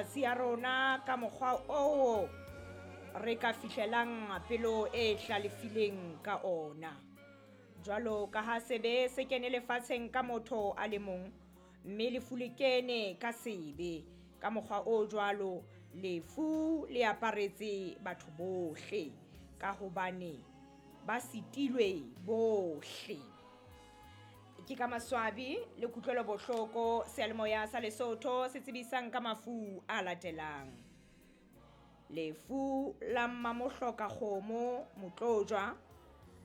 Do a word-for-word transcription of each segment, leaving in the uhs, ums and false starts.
Matsatsi a rona ka mokgwa oo re ka fihlelang pelo e hlalefileng ka ona. Jwalo ka ha sebe se kene lefatsheng ka motho a le mong, mme lefu le kene ka sebe, ka mokgwa o jwalo lefu le aparetse batho bohle, ka hobane ba sitilwe bohle. Ke ka maswabi le kutlwelo bohloko seyalemoya sa Lesotho se tsebisang ka mafu a latelang. Lefu la Mmamohloka Kgomo Motlojwa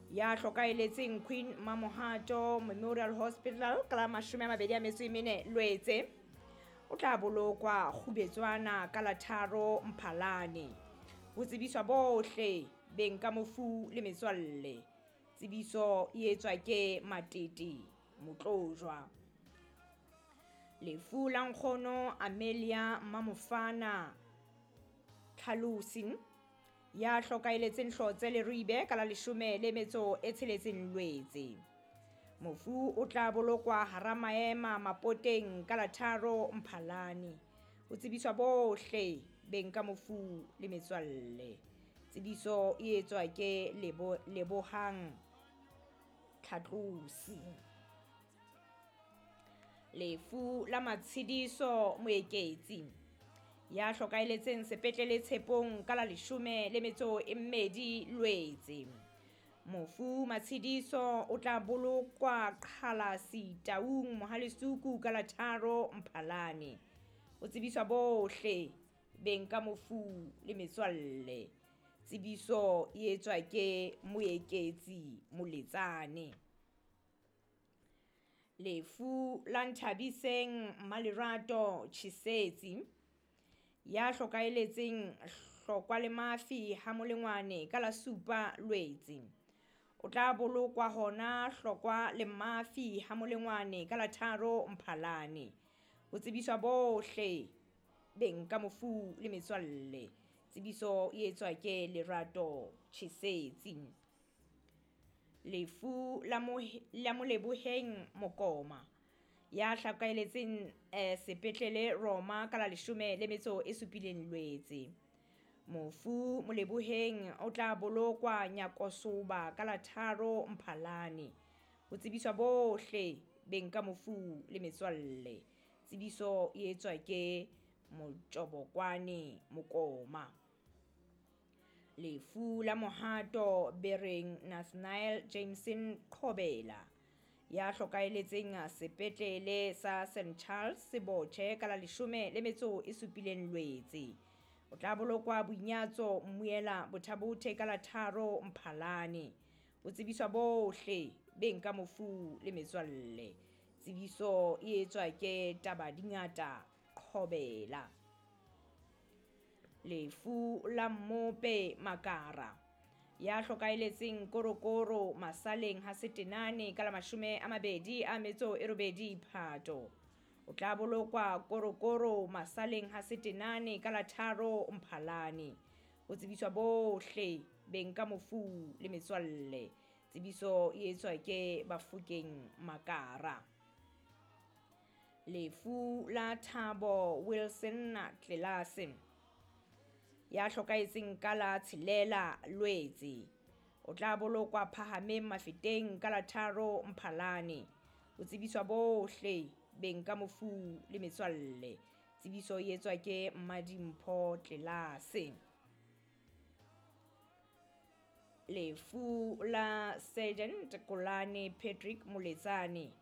ya hlokaeletseng Queen Mamohato Memorial Hospital ka la mashome a mabedi a metso e mene Lwetse, o tla bolokwa Kgubetswana ka la tharo Mphalane. Ho tsebiswa bohle beng ka mofu le metswalle. Tsebiso e etswa ke Matete Motlojwa. Lefu la nkgono Amelia Mamofana Tlhalosi ya hlokaeletseng Hlotse Leribe ka la leshome le metso e tsheletseng Lwetse. Mofu o tla bolokwa hara maema Mapoteng ka la tharo Mphalane. Ho tsebiswa bohle beng ka mofu le metswalle. Tsebiso e etswa ke Lebo, Lebohang Tlhatlosi. Lefu la Matshediso Moeketsi ya hlokaeletseng sepetlele Tshepong ka la leshome le metso e mmedi Lwetse. Mofu Matshediso o tla bolokwa Qhalasi Taung Mohalesuku ka la tharo Mphalane. O tsebiswa bohle beng ka mofu le metswalle. Tsebiso e etswa ke Moeketsi Moletsane. Lefu la Nthabiseng Malerato Chisetsi ya hlokaeletseng Hlokwa le Mafi ha Molengwane ka la supa Lwetse. O tla bolokwa hona Hlokwa le Mafi ha Molengwane ka la tharo Mphalane. Ho tsebiswa bohle beng ka mofu le metswalle. Tsebiso e etswa ke Lerato Chisetsi. Lefu la la Moleboheng Mokoma ya hlakaeletseng eh, sepetlele Roma ka la leshome le metso e supileng Lwetse. Mofu Moleboheng o tla bolokwa Nyakosoba ka la tharo Mphalane. Ho tsebiswa bohle beng ka mofu le metswalle. Tsebiso e etswa ke Motjobokwane Mokoma. Lefu la Mohato Bereng Nathaniel Jameson Qhobela ya hlokaeletseng sepetlele sa St Charles Sebotjhe ka la leshome le metso e supileng Lwetse. O tla bolokwa Boinyatso Mmuela Bothabothe ka la tharo Mphalane. O tsebiswa bohle beng ka mofu le metswalle. Tsebiso e etswa ke Tabadingata Qhobela. Lefu la Mmope Makara ya hlokaeletseng Korokoro Masaleng ha Setenane ka la mashome a mabedi a metso e robedi Phato. O tla bolokwa Korokoro Masaleng ha Setenane ka la tharo Mphalane. Ho tsebiswa bohle beng ka mofu le metswalle. Tsebiso e etswa ke Bafokeng Makara. Lefu la Thabo Wilson Tlelase ya hlokaetseng ka la tshelela Lwetse. O tla bolokwa Phahameng Mafeteng ka la tharo Mphalane. Ho tsebiswa bohle beng ka mofu le metswalle. Tsebiso e etswa ke Mmadimpho Tlelase. Lefu la Sergeant Kolane Patrick Moletsane